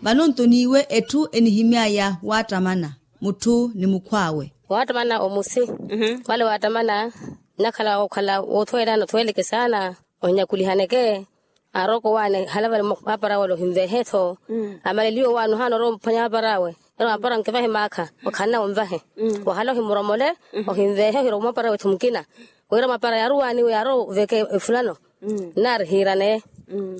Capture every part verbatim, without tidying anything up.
Vano nto n'iwe etthu enihimy'aya waattamana mutthu ni mukhw'awe. Waattamana omusi. Vale waattamana nnakhala okhala woothweelana othweeleke saana. Ohinyakulihaneke. Arooko waani halavala maapara wale ohinvehe-tho. Amaleliwe waani ohaana orowa ophwanya maapara awe. Ero maapara nkivahe maakha okhanna onvahe. Wahala ohimuromole ohinvehe ohirwa maapara wetthu mukina. Wira maapara yaaruwaaniwe yaarowa oveke efulano. Nnaari hiiraneye.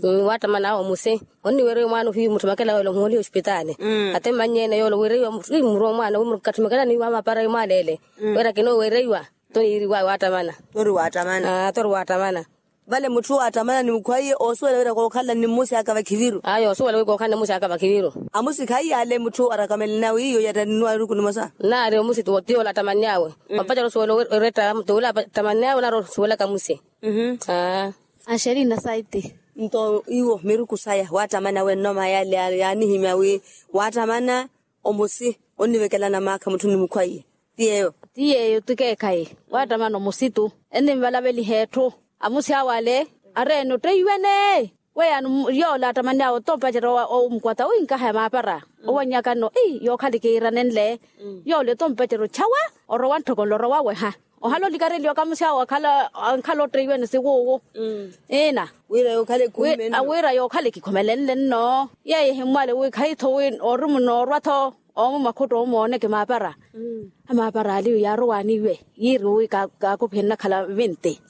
Waattamana awe omusi onniwereiwa mwaana ohiyu mutthumakela yoola omuholiha osipitaali. Ate mmanny'ene yoola owereiwa murwa omwaana wi mukatthumekela niiwa maapara imwaaleele. Wira kinoowereiwa. Toniiriwaya waattamana. Tori waattamana. Vale mutthu waattamana ni mukhwaiye oosuwela wira kookhala ni mmusi aka vakhiviru. Ayo oosuwela wira kookhala ni mmusi aka vakhiviru. Amusi khaiyale mutthu arakamele nawe iyo yatta ninnuwa eruku nimosa. Nnaari omusi tiyo ola attamanny'awe. Wampacela osuwela oretta tiwula attamanny'awe nari osuwelaka musi. Axerina saiti. Nto iwo miruku saya waattamana wenno maayale yaanihimya wi waattamana omusi onnivekelana maakha mutthu ni mukhwaiye. Ti yeeyo. Ti yeeyo ti keekhayi. Waattamana omusi tu ennivalaveliha etthu. Amusi awo ale areene otteiwene. Weyaani yoola attamanny'awe oto mpacerya omukwata wi nkaha ya maapara owannyaka nno ii yookhala kiiranenle. Yoola oto mpacerya otthawa orowa ntthoko nlo orowa weha. Ohala olikareliwa kamusi awo akhala ankhala otteiwene siwuwu. Ina. Wira yookhala ekikhumelenle nno yeeyo ehimmwale wi khayi-tho wi ori munoorwa-tho. Oomwe mwakhutto omooneke maapara. Amaapara aliyo yaarowaaniwe yiiri wi kaakupihe nnakhala vinti.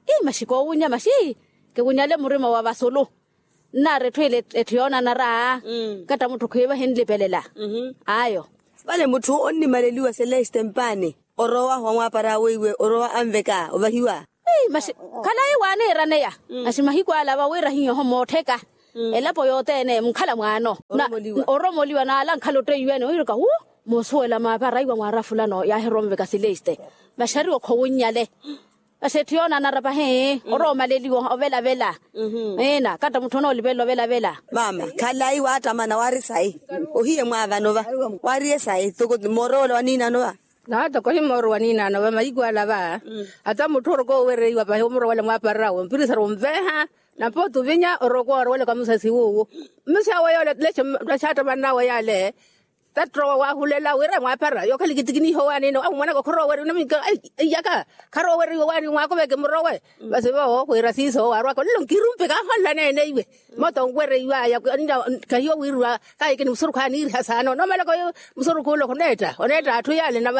Ii maxi koowunnya maxi kiwunnyale murima wa vasulu. Nnaari etthu ile etthu yoonanara. Katta mutthu khwiiva hinlipelela. Ayo. Vale mutthu onnimaleliwa seleste mpaani orowa wa mwaapara awe iwe orowa anveka ovahiwa. Khalayi waaniiraneya. Masi mahiku ala va wira hiyo oho moottheka elapo yothene munkhala mwaano. Oromoliwa naala nkhala otteiwene ohiruka wu. Moosuwela maapara iwa mwaara fulano yaahirowa onveka sileste. Masi ariwo khowunnyale. Masi etthu yoonanara pahi orowa omaleliwa ovelavela. Ina katta mutthu onoolipelela ovelavela. Maama khalayi waattamana waari sayi. Ohiye mwaavano va waariye sayi toko moorowela waniinano va. Naata kohi mooro waniinaano va mahiku ala va. Ata mutthu oroka owereiwa pahi omurowela mwaaparirawe mpirisaru onveha. Nampa otuvinya oroka orowelaka musasi wuwu. Mmusi awe yoola lexe xaattamannawe yaale. Tattowa waahulela wira mwaapara yookhala kitikiniha owaanina amumonaka khuroweriwa naminka. Iyaka kharoweriwa owaani mwaakuveke murowe. Vasi vo wira siiso waarwaka olelo nkirumpi kaaholela neene iwe. Moto onwereiwaya kahiyo wiiriwa. Kaahikini musurukhu aniiriha saana onomalaka oyo. Musurukhu ole oneetta oneetta atthu yaale na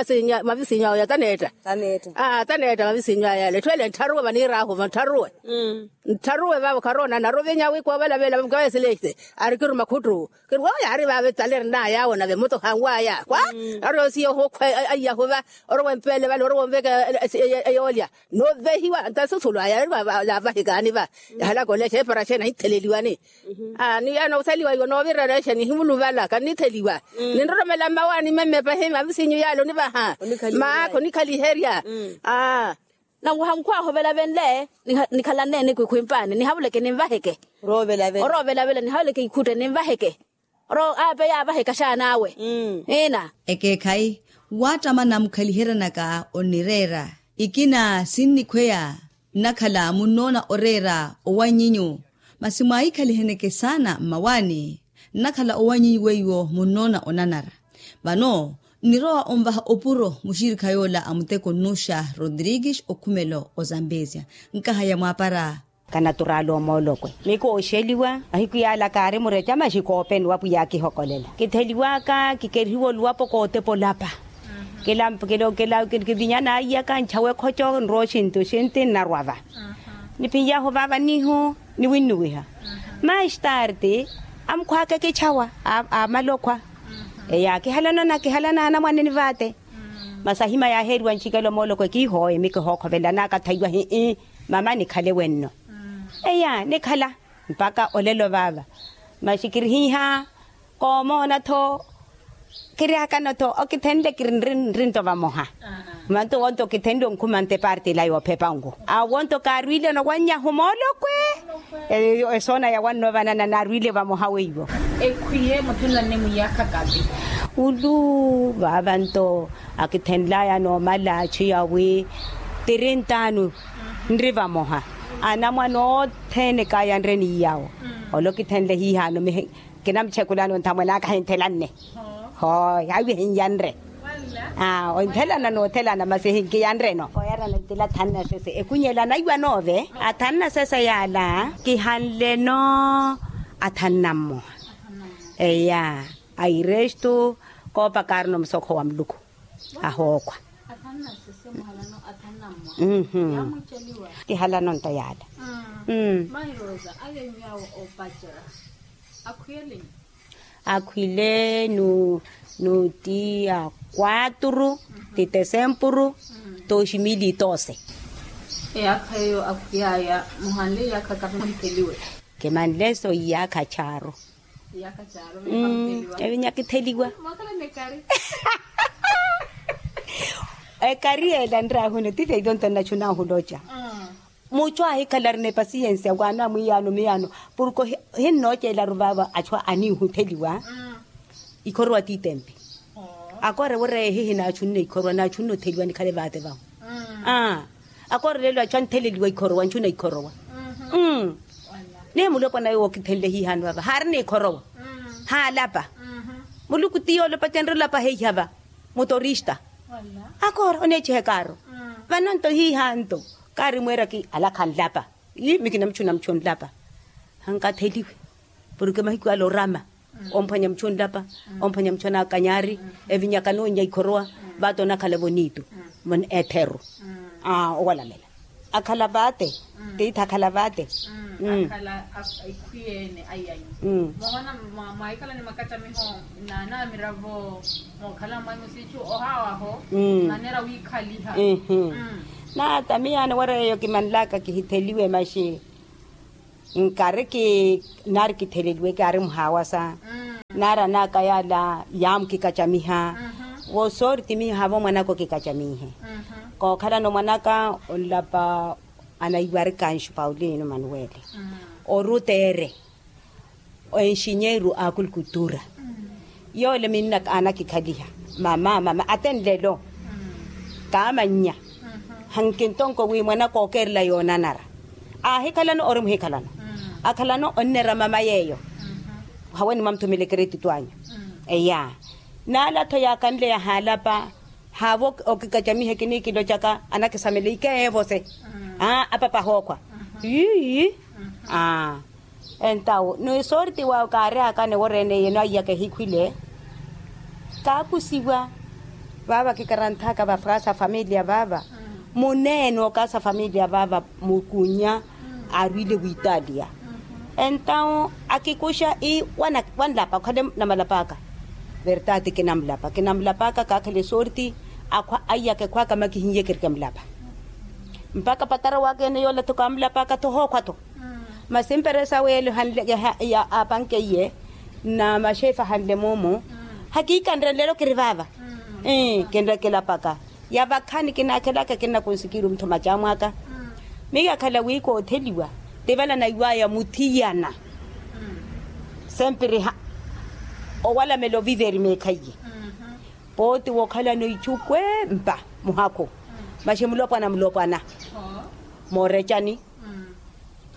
mavisinyu awe taneetta. Taneetta mavisinyu aya yaale etthu ele nttharuwe vaniiraahu va nttharuwe. Nttharuwe vavo kharoona naruvinya wi koovelavela mukaveselexe. Ari kiruma khuttu kiri wowo yaari vave tale erinaya awo nave muto hanwaya kwa. Ari osiya ohokhwa aiyahu va orowa empeele vale orowa onveka eyoolya. Novehiwa nta susulu aya yavahikaani va. Yahalaka olexa epara xeeni ahitheleliwani. Ni yaani osaliwa iwo noovirana exa nihimuluvala kannitheliwa. Ninroromela mmawaani memme pahi mavisinyu yaale onivaha. Maakha onikhaliherya. Nanwaha nkhwaaha ovelavenle. Nikhalanene kwikhwimpaani nihavuleke ninvaheke. Oroovelavela nihavuleke ikhutte ninvaheke. Oro aape yaavaheka xaan'awe. Ina. Ekeekhayi waattamana mukhaliheryanaka onnireera. Ikina sinnikhweya nnakhala munnoona oreera owanyinyu. Masi mwahikhaliheneke saana mmawaani nnakhala owanyinyu weiwo munnoona onanara. Vano nnirowa onvaha opuro muxirikha yoola a muteko nnuxa rodrigues okhumelo ozambesia. Nkaha ya mwaapara. Kanaturaala omoolokwe miku ooxeliwa mahiku yaala kaari mureca maxi koopeni wa pwiya akihokolela kitheliwaka kikerihiwa oluwapo kootepa olapa. Kilampa kivinyana aiyaka nchawe ekhoco nrowa oxinti oxinti nnarwa va. Niphinyahu vaava nihu niwinnuwiha. Maistarti amukhwaka ekichawa aamala okhwa. Eyo akihalana anakihalana anamwane ni vaate. Masi ahimya yaaheeriwa nchikelo moolokwe kiihooye mikihookhovelanaka thaiwa hii. Mama nikhale wenno. Eya nikhala mpaka olelo vaava. Masi kirihiiha koomoona-tho. Kirihakano-tho okithenle kiri nri nto vamoha. Manto wonto okithenle onkhuma nte parti ila yoophepa nku. Awo wonto kaarwiileno wannyahu moolokwe. Esoona yawanno vanana naarwiile vamoha weiwo. Ekhwiye muthenlanne mwiyaakha kavi. Ulu vaava nto akithenlaya noomala achiya wi tirintaanu nri vamoha. Anamwane othene kaayanreni iyawo. Ole okithenle hiihaano mihi kinamuchekulani onthamwene aka ahinthelanne. Hooyi awi ahinyanre. Onthelana noothelana masi ehinkiyanreno kooyarana ntila athanu na sese ekunyela anaiwa noove. Athanu na sese yaala kihanleno athanu na mmoha. Eya airestu koopakaarina omusokho wa muluku. Ahookhwa. Tihalanonta yaala. Akhwile nu ti ya kwaturu ti tesempuru. Toximili tose. Eyaakha eyo akhwiyaya muhanle iyaakha kapi muhitheliwe. Kimanle so iyaakha charu. Evinya kitheliwa. Ekari yeela nraahuna ti feito nto nnachunahu loca. Muchu ahikhala arina epasiyensiya waana mwiyaano miyaano. Porke ohinnoocelaru vaava achu aniihutheliwa. Ikhorowa tiitempi. Akoore wira ehihi naachunne ikhorowa naachunne otheliwa nikhale vaate vahu. Akoore lelo achu antheleliwa ikhorowa nchuna ikhorowa. Ni mulopwana yowo okithenle hihaani vava haarina ikhorowa. Haalapa. Muluku ti yoolopa tenre olapa heiha va mutorista. Akoora oneechiha ekaaro. Vananto hihanto kaari mweeraki alakha nlapa. Ii mi kinamuchuna muchu nlapa. Hankatheliwe porke mahiku ala orama omphwanya muchu nlapa. Omphwanya muchu anakanyari evinyaka noonnya ikhorowa. Vaate onakhala vonitu etheru. Owalamela akhala vaate. Tiithi akhala vaate. Akhala ekhwiyeene ayanyu. Mwahoona mwahikhala ni makacamiho naanamiravo mookhala mwanyu siichu ohaawaho. Naneera wiikhaliha. Naata miyaano wira yeeyo kimanlaka kihitheliwe maxi. Nkari ki naari kitheleliwe kaari muhaawasa. Naari anaaka yaala yaamukikacamiha. Vo soori ti miyo haavo mwanaka okikacamihe. Kookhalana omwanaka onlapa anaiwari kanxu paulino manuweli oruteere enxinyeeru a kulkutura. Yoole minnaka anakikhaliha mama mama ate nlelo kaamannya. Hankintonko wi mwanaka ookeerela yoonanara aahikhalano ori muhikhalano. Akhalano onnera mama yeeyo haweni mwamuthumela ekeretito anyu. Eya naala-tho yaakanle yahaalapa haavo okikacamihe kiniikilocaka anakisamela ikeevo se. Aa apapa ahookhwa. Ii aa entawo ni soorti waawe kaaryaakana eworeene yeno aiyaka ehikhwile. Kaakusiwa vaava kikaranthaka vafwasa familia vaava muneene okaasa familia vaava mukunya aarwile witalia. Entawo akikuxa ii wanlapa okhale namalapa aka. Vertati kinamulapa kinamulapa aka kaakhale soorti akhwa aiyaka ekhwaka makihinye kirikemulapa. Mpakha patara waka ene yoola-tho kaamulapa aka-tho hookhwa-tho. Masi mperesa weelo hanle ya apankeiye na maxefe ahanle moomo. Hakiikanre nlelo kiri vaava. Kinrekela paka ya vakhani kinaakhelaka kinnakunsikiru muthu macamwaka. Miyo akhala wi kootheliwa tivala naiwaya muthiyana. Sempiri owalamela oviveri meekhaiye pooti wookhalana ichu kwempa muhakhu. Maxi mulopwana mulopwana moorecani.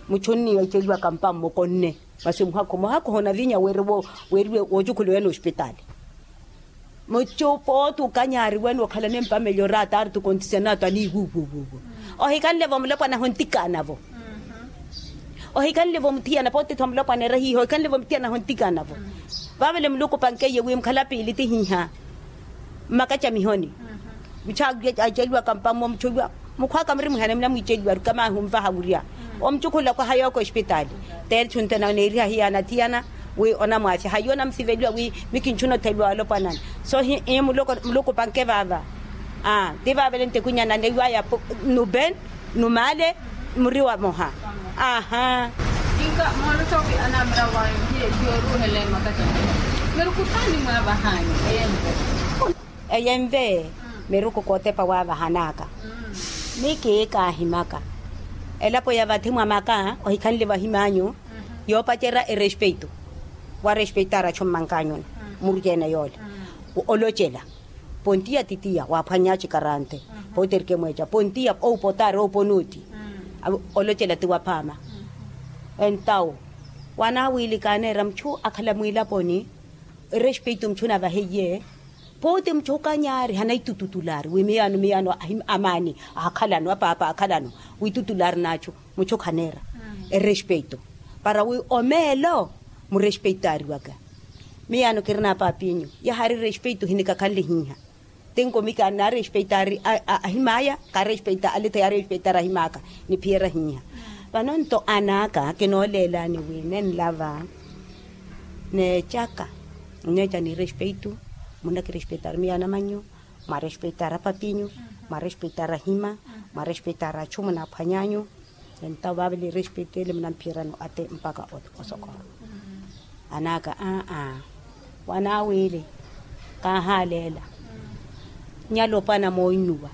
Muchu onniya iceliwaka mpa mmokonne masi muhakhu muhakhu honavinya weeriwe woocukhuluwene ospitaali. Muchu pooti okanyariwene okhalane mpa melhor ataari tukontisiana atu aniiwuwuwuwu. Ohikanle-vo mulopwana hontikanavo. Ohikanle-vo muthiyana pooti-tho mulopwana ere hiiha ohikanle-vo muthiyana hontikanavo. Vaavale muluku opankeiye wi mukhala piili tihiiha mmakacamihoni. Muchu aceliwaka mpa mmo muchu oiwa mukhwaka muri mwihana munamwiiceliwa arukamahi onvaha wurya omucukhulula kwaha yooko ospitaali. Teerichu ntena oneeriha hiyaana thiyana wi onamwaasya hayi onamusiveliwa wi mikinchuna otheliwa walopwanani. So muluku opanke vaava. Aa ti vaavele ntikhwinyana neiwaya nuben numale muri wamoha. Aha. Kinka moolotta wi anamira wayo hiyo hiyo oruhele makacamihoni. Miruku taani mwaavahani? Eyenve miruku kootepa waavahanaka. Mi kiikaahimaka elapo ya vathi mwa maka ohikhanle vahimanyu yoopacerya erespeito. Warespeitara achu mmankanyuna murukene yoole olocela. Pontiya titiya waaphwanya chikarante. Poterke mweca pontiya oupotari oupona oti. Olocela ti waphaama. Entawo wanaawiili kaaneera muchu akhala mwiilaponi. Erespeito muchu navaheiye. Pooti muchu kanyaari hanaitututulaari wi miyaano miyaano amaani aakhalano apaapa aakhalano. Witutulaari n'achu muchu khaneera erespeito para wi omeelo murespeitaariwaka. Miyaano kirina apaapinyu yahaari respeito hinikakhanlihiiha. Tinko mika naarespeitaari ahim'aya kaarespeita alethi yaarespeitaari ahim'aka. Niphiyerya hiiha vano nto an'aka kinooleelani wi nenlava neecaka. Nneeca ni respeito munakirespeitaari miyaana manyu mwarespeitaari apapinyu mwarespeitaari ahima mwarespeitaari achu munaaphwanyanyu. Entawo vaavela erespeito ele munamphiyerani ate mpakha osokora. An'aka aa wanaawiili kaahaaleela. Nyalopwana mooinnuwa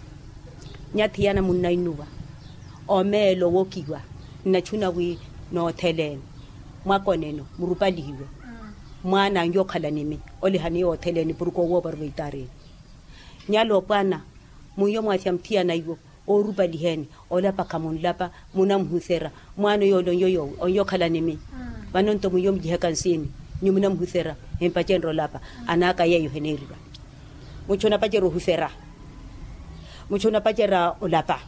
nyathiyana munnainnuwa omeelo owokiwa. Nnachuna wi nootheleeni mwakoneno murupalihiwe mwaana anyu okhala nimi. Olihani yootheleeni purukhu owoopariwa itarini. Nyalopwana mwiyo mwathi amuthiyana iwo oorupaliheeni olapa khamunlapa munamuhuserya mwaana oyoole onyo yoowi onyo okhala nimi. Vano nto mwiyo mulihaka nsiini nyu munamuhuserya empacenrya olapa. An'aka yeeyo heneeriwa muchu onapacerya ohuserya muchu onapacerya olapa.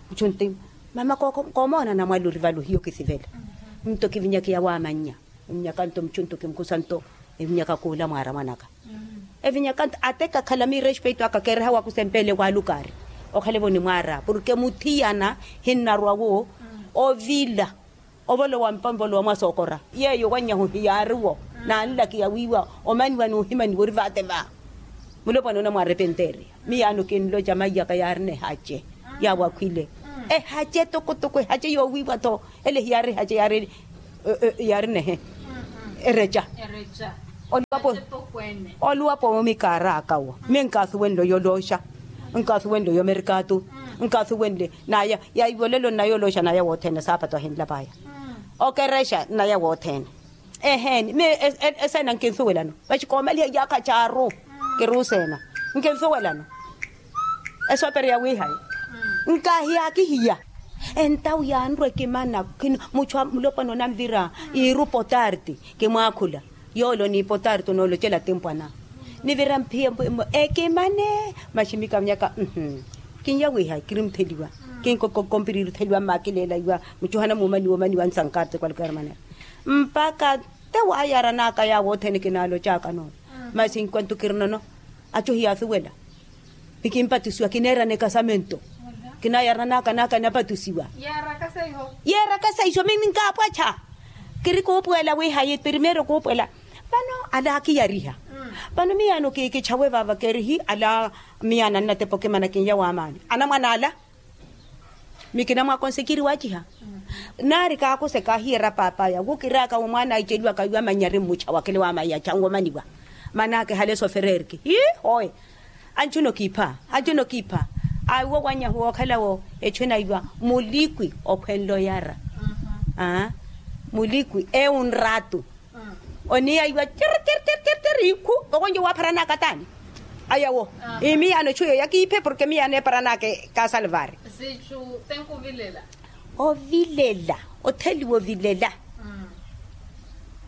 Muchu nti mama koomoona namwali ori vale ohiya okisivela. Nto kivinyaka yawamannya evinyaka nto muchu nto kimukhusa nto evinyaka khuula mwaara mwanaka. Evinyaka nto ate kakhala miirespeito aka keereha wakusempeele waalukaari okhalevo nimwaara porke muthiyana hinnarwa wo ovila ovolowa mpa ovolowa mwasookora. Yeeyo wanyahu hiyaari wo naanlakiya wiiwa omaniwa n'uhimaniwa ori vaate va. Mulopwana onamwarepenteeriya miyaano kinloca maiyaka yaarina ehace yaawakhwile ehace tokotoko ehace yoowiiwa-tho. Ele hiyaari ehace yaari yaari nehe ereca. Oluwapo oluwapo mikaaraka wo mi nkaasuwenle oyolooxa nkaasuwenle oyomerikatu nkaasuwenle naya yaivolelo nnaya olooxa naya wothene saapato ahinlapaya okerexa nnaya wothene. Eheeni mi eseena nkinsuwelano vaxi koomaliha iyaakha caaru kiruuseena nkinsuwelano. Esoopereya wiihayi nkaahiyakihiya entawu yaanrwa ekimana. Muchu a mulopwana onanvira iiru potarti kimwaakhula yoole oniipotarti onoolocela timpwana. Nivira mphiya ekimane maximika nyaka. Kinyawiha kirimutheliwa kinkokompiriri otheliwa mmakileela iwa muchuhana muumaniwa omaniwa nsankarti kwalukera manera mpaka te waayaranaka yaawo othene kinaalocaka nono. Masi nkwantu kirinono achu hiyasuwela. Ni kimpatisiwa kineerana ekasamento kinayaranaka naka napatisiwa. Yeerakasa iho mimi nkaapwacha kiri kuupuwela wihayi primeiro kuupuwela. Vano ala akiyariha vano miyaano kikichawe vava kerihi ala miyaano annatepa okimana kinya waamaani anamwana ala. Mikina mwaka onsikiri waciha naari kaakuseka ahiyera paapaya wukiraka wi mwaana aiceliwaka iwe amanyari mmucha wakele wamaiya changu omaniwa. Manaka ehale sofererki hii hoye. Anchuna okiipha anchuna okiipha. Aiwo wanyahu wookhalawo echuna iwa mulikwi okhwenle oyara. Mulikwi ewu nratu oniya iwa tiri tiri tiri tiri ikhu okonjo waapharanaka taani. Ayawo imiyaano echuyo yakiiphe porke miyaano eeparanaka ekasalvari. Ovilela otheliwa ovilela.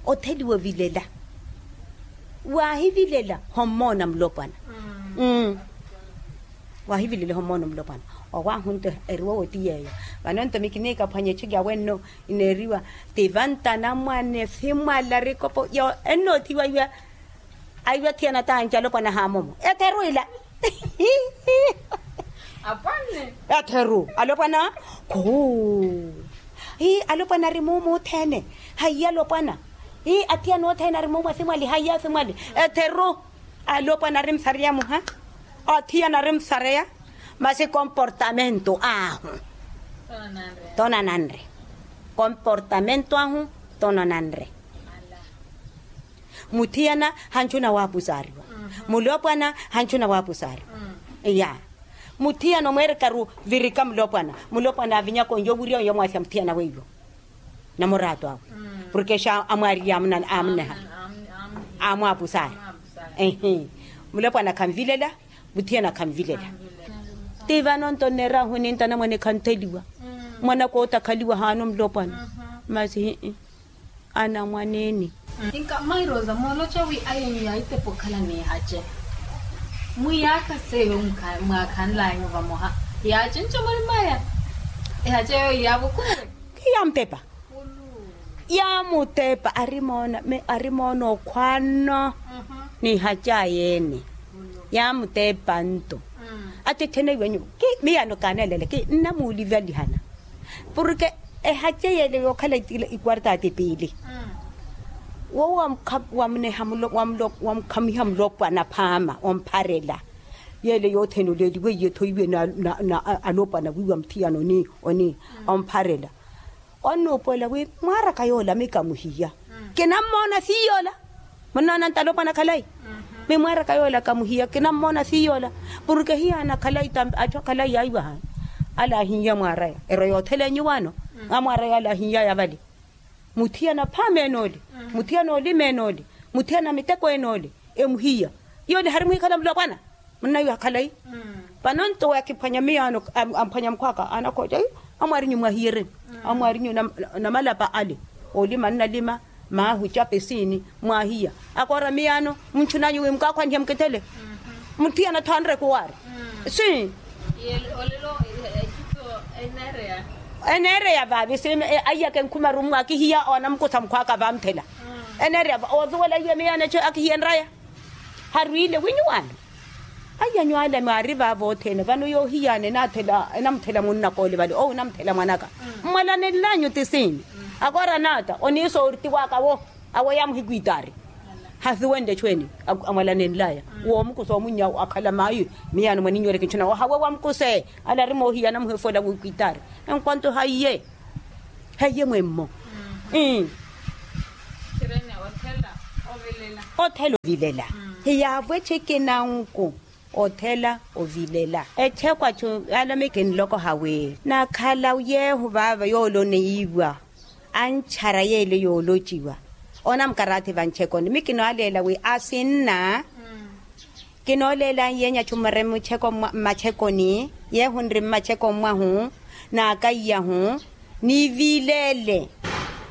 Otheliwa ovilela waahivilela hommoona mulopwana. Waahivilela hommoona mulopwana. Owaahu nto eriwa woti yeeyo. Vano nto mikiniikaphwanya echuki awenno ineeriwa ti vantana mwane simwala rikopo yo ennoothiwa iwa. Aiwa thiyana taanci alopwana haamomo etheru ila. Etheru alopwana khuu. Hii alopwana ari muumu othene. Haiya alopwana hii athiyana othene ari muumu asimwali haiya asimwali. Etheru alopwana ari msareya muha. Athiyana ari msareya masi komportamento ahu tonananre. Komportamento ahu tonananre. Muthiyana hanchuna waapusaariwa. Mulopwana hanchuna waapusaariwa. Ya muthiyana omweerekaru virika mulopwana. Mulopwana avinyaka onyo wiriya onyo mwaasya muthiyana weiwo. Namuraatu awe porke xa amwaariye amuneha amwaapusaari. Mulopwana khanvilela. Muthiyana khanvilela. Ti vano nto nneerahu nintana mwane khantheliwa. Mwanaka otakhaliwa haana omulopwana. Masi hii. Anamwaneeni. Inka mairosa mooloca wi ayenyu yaitepa okhala n'ihace. Mwiyaaka seyo mwaakhanlanyu vamoha. Yaacenca mwarimaya. Ihace yoyo yaavukuwe. Khiyamutepa. Yaamutepa arimoona mi arimoona okhwaano. N'ihace ayeene. Yaamutepa nto. Attetthene iwenyu. Miyaano kaaneelele ki nnamuulivalihana. Porke ehace yeele yookhala ikwarta atipiili. Wowo wamuneha wamukhamiha mulopwana phaama ompharela. Yeele yothene oleeliwe iye thoiwe na alopwana wiiwa muthiyana oni. Ompharela. Onnuupuwela wi mwaaraka yoola mika muhiya. Kinammoona siiyoola. Munnoona ntalopwana khalayi. Mimwaaraka yoola kamuhiya kinammoona siiyoola. Porke hiyaana khalayi tambi atthu akhalayi yaiwahani. Alaahinya mwaaraya ero yootheleenyu waano. Amwaaraya alaahinyaya vale. Muthiyana phaama enoole. Muthiyana olima enoole. Muthiyana miteko enoole. Emuhiya. Yoole hari muhikhala mulopwana. Munnaiwa khalayi. Vano nto we akiphwanya miyaano amphwanya mukhwaka anakhoca. Amwaarinyu mwahiyereni. Amwaarinyu namalapa ale. Olima nnalima. Maahu cape siini. Mwahiya. Akoora miyaano. Muntthunanyu wi mukaakhwanihe mukithele. Muthiyana tho anreke owaari. Si. Eneereya vaavi si. Aiyaka enkhumaru mmwaakihiya onamukusa mukhwaka vaamuthela. Eneereya va osuwela iye miyaano eco akihiya enraya. Harwiile wi nyuwaano. Aiya nyuwaale mwaari vaavo othene vano yoohiyaana enamuthela munnaka ole vale owo enamuthela mwanaka. Mmwalanenlanyu ti siini? Akoora naata oniisa ortiwaka wo. Awo yaamuhikwitaari. Hasuwenle echweeni. Amwalanenlaya woomukusa omunnya akhala maayi. Miyaano mwaninyoole kintthuna wahawe wamukuse. Ala ari moohiyana muhefola wikwitaari. Enkwanto haiye. Haiye mwemmo. Othela ovilela. Hiyaavwe eceke nanku. Othela ovilela echekwachu yalomeke nloko hawi nakhala yeehu vaava yooloneyiwa. Anchara yeele yoolociwa. Oona mukarathi vanchekoni mi kinooleela wi asinna. Kinooleela anyeenya chumare mmachekoni yeehu nri mmachekoni mwahu naakaiyahu. Nivileele.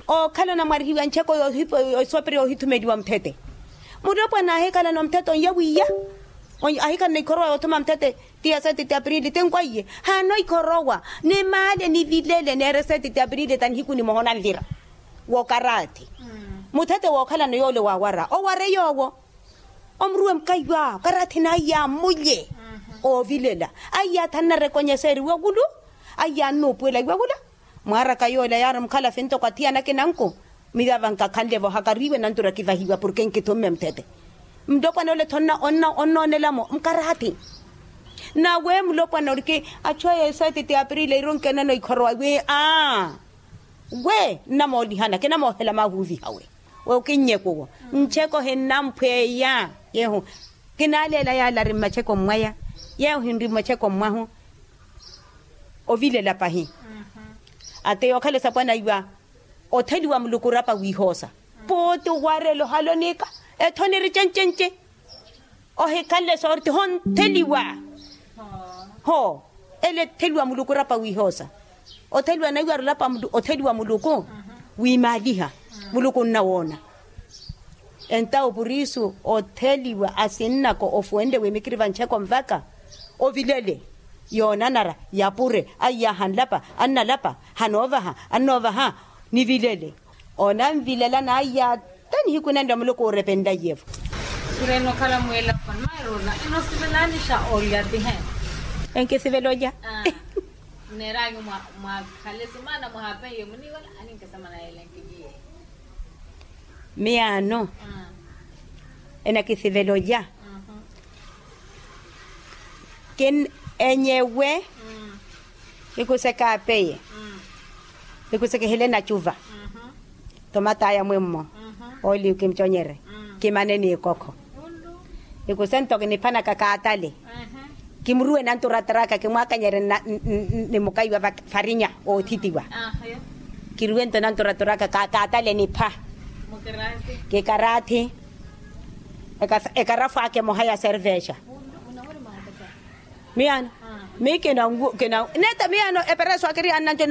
Ookhala onamwarihiwa ncheko yoosopera yoohithumeliwa muthete. Mulopwana aahikhalana omuthete onyawiyya. Ahikhalana ikhorowa yoothuma muthete. Tiya sete ti apirili tinkwa iye haana oikhorowa. Nimaale nivilele neere sete ti apirili ta nihiku nimoha onanvira. Wookaraathi. Muthete wookhalana yoole waawara oware yoowo. Omuruwe mukaiwa karaathi naiya amulye. Oovilela aiya athanna rekonyeseeriwa okulu. Aiya annuupuwela iwakula. Mwaaraka yoole yaari mukhalafi ntoko athiyana akinanku. Miyo ava nkakhanle-vo hakariiwe nantura kivahiwa porke nkithumme muthete. Mulopwana ole tho onnoonela-mo mukaraathi. Nawe mulopwana oriki achu aya esaati ti apirili eiro nkenano ikhorowa wi aa. We nnamoolihana kinamoohela maahuuviha we. Okinnyeku owo ncheko hinnamphweya. Yeehu kinaaleela yaala ari mmacheko mmwaya. Yeehu hinri mmacheko mmwahu. Ovilela pahi. Ate yookhala esapwana iwa otheliwa muluku orapa wiihoosa. Puuti owarela ohalonika etho niri cencenci. Ohikhanle soorti hontheliwa. Hoo ele etheliwa muluku orapa wiihoosa. Otheliwa naiwara olapa otheliwa muluku wiimaaliha. Muluku onnawoona. Entawo purisu otheliwa asinnako ofuwenle wi mikiri vancheko nvaka. Ovilele yoonanara yapure aiyaha nlapa annalapa. Hanoovaha annoovaha. Nivilele onanvilela naiya ata nihiku nanle muluku oorepenlaye-vo. Surene okhala mweelaponi mairona enosivelani xa olya tihe. Enkisivela olya. Nneeranyu mwakhale sumaana muhapeiye muniiwela aninkesamana yelenkikiye. Miyaano enakisivela olya. Enyewe ikusekaapeye. Ikusekehele nacuva. Tomataya mwemmo. Oli kimuconyere kimane n'ikokho. Ikuse nto kiniphanaka kaatale. Kimuruwe nanturaturaka kimwakanyere ni mukaiwa farinya oothitiwa. Kiruwe nto nanturaturaka kaatale nipha. Kikaraathi. Ekarafu aka emoha ya servexa. Miyaano. Miyo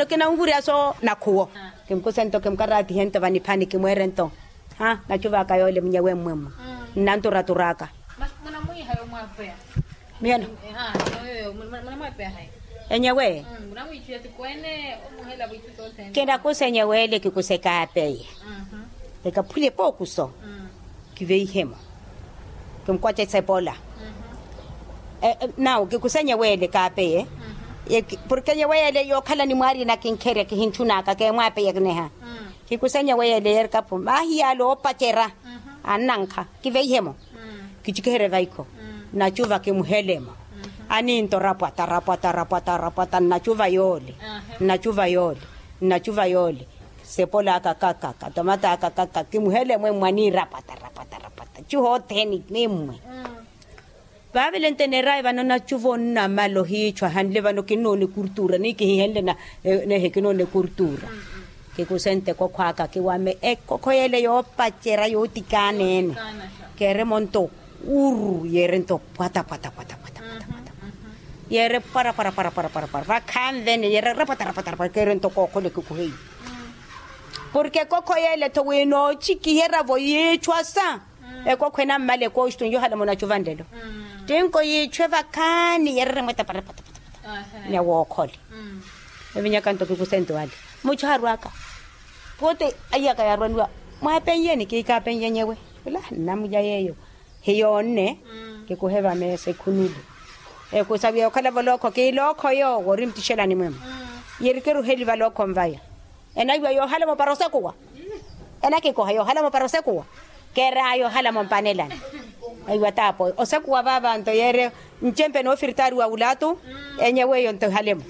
kinanwurya so nakhuwo. Kimkusento kimkaraatihento vaniphani kimweerento. Ha nachuva aka yoole munyewe mmwemwe. Nnanturaturaka. Miyano. Enyewe. Kinakusenyeweele kikusekaapeye. Ekaphule pookuso. Kiveihemo. Kimukwace sepola. Nawo kikusenyeweele kaapeye. Porke enyeweele yookhala ni mwaarina kinkherya kihinchunaka keemwaapeye kineha. Kikusenyeweele yeerikapu mahiyaale oopacerya. Annankha kiveihemo. Kichikiherye vaikho. Nnachuva kimuhelemo. Aninto rapwata rapwata rapwata rapwata nnachuva yoole. Nnachuva yoole. Nnachuva yoole. Sepola aka kakaka tomata aka kakaka kimuhelemo emmwe aniirapwata rapwata rapwata chuhotheni emmwe. Vaavele nteneeraye vano nachuva onnamala ohiichwa hanle vano kinnoona ekurtuura ni kihihenle nehe kinnoona ekurtuura. Kikusente ekhokho aka kiwame ekhokho yeele yoopacerya yootikaaneene. Keeremo nto urru yeerento pwata pwata pwata pwata pwata pwata. Yeere pwara pwara pwara pwara pwara pwara vakhanvene yeere rapwata rapwata rapwata keerento kookhole kikuheiye. Porke ekhokho yeele tho winoochikiherya-vo yiichwa sa. Ekhokho enammala ekooxitun yohala munachuva nlelo. Tinko yiichwe vakhaani yeereremweta pwara pwata pwata pwata. Nyawookhole. Evinyakanto kikusente wale. Muchu harwaka. Pote aiyaka yaarwaniwa. Mwaapenlyeni kiikaapenlye nyewe. Ula nnamulya yeeyo. Hiyoonne. Kikuheva meesa ekhunulu. Ekusaviya okhala volookho kiilookho yoowo ori mutixelani mwemwe. Yeri kiruheli valookho nvaya. Enaiwa yoohala mopara osekuwa. Enakikoha yoohala mopara osekuwa. Keera yoohala mompanelani. Aiwa taapo osekuwa vavanto yeere. Ncempe noofiritaari wa wulaatu. Enyewe eyo nto ehalemo.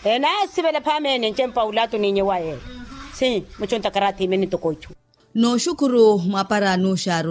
Enaasivela phameene ncempe wa wulaatu n'inyewa yeeyo. Si muchu ntakarathi imene ntoko ichu. Nooxukuru mwapara nuuxaaru.